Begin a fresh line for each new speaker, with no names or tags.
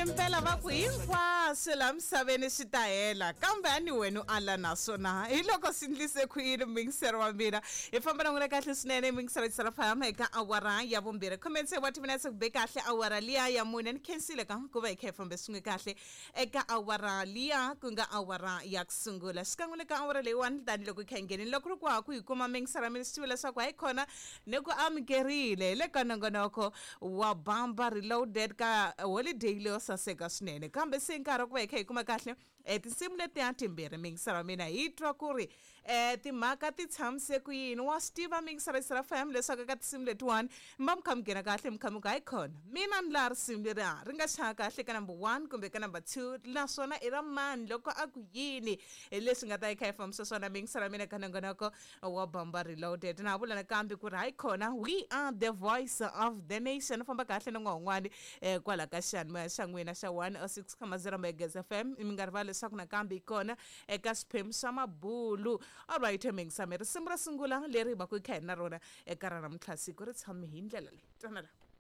Impela va ku hinkwaswo laha misaveni swi ta hela kambe a ni wena u ala naswona hi loko swi ndlise ku yini muyingiseri wa mina hi famba na n'wina kahle swinene muyingiseri wa famba eka awara ya vumbirhi khume tsevu wa timinetse ku be kahle awara liya ya mune ni khensile ka ku va hi kha hi fambe swin'we kahle eka awara liya ku nga awara ya ku sungula xikan'we le ka awara leyiwani tanihiloko hi kha hi nghenini loko ri ku ha ku hi kuma muyingiseri wa mina swi tiva leswaku hayi khona ni ku amukerile hi le ka nongonoko wa Bamba Reloaded ka holiday leyo saseka swinene kambe se nkarhi wa ku va hi kha hi kuma kahle um tinsimu letiya timbirhi miyingiselo wa mina hi twa ku ri um timhaka ti tshamise ku yini wa swi tiva miyingiselo ya FM leswaku eka tinsimu letiwani mi va mi kha mi nghena kahle mi kha mi ku hayi khona mina ni laha risimu leri a ri nga chaya kahle ka number 1 kumbe ka number 2 naswona i ra mani loko a ku yini hi leswi nga ta yi kha yi fambisa swona miyingiselo ya mina ka nongonoko wa Bamba Reloaded. Na ha vula nakambe ku ri hayi khona we are the voice of the nation. Famba kahle na n'wan'wani eh, kwala ka xiyanimoya xa n'wina xa 106.0 Megas FM. Mi nga rivali leswaku nakambe yi kona eka swiphemu swa mabulu. Alright, mingisame risimu ro sungula leri hi va ku hi kha hi na rona eka ra namuntlha siku ri tshame hi ndlela leyi. Twana la.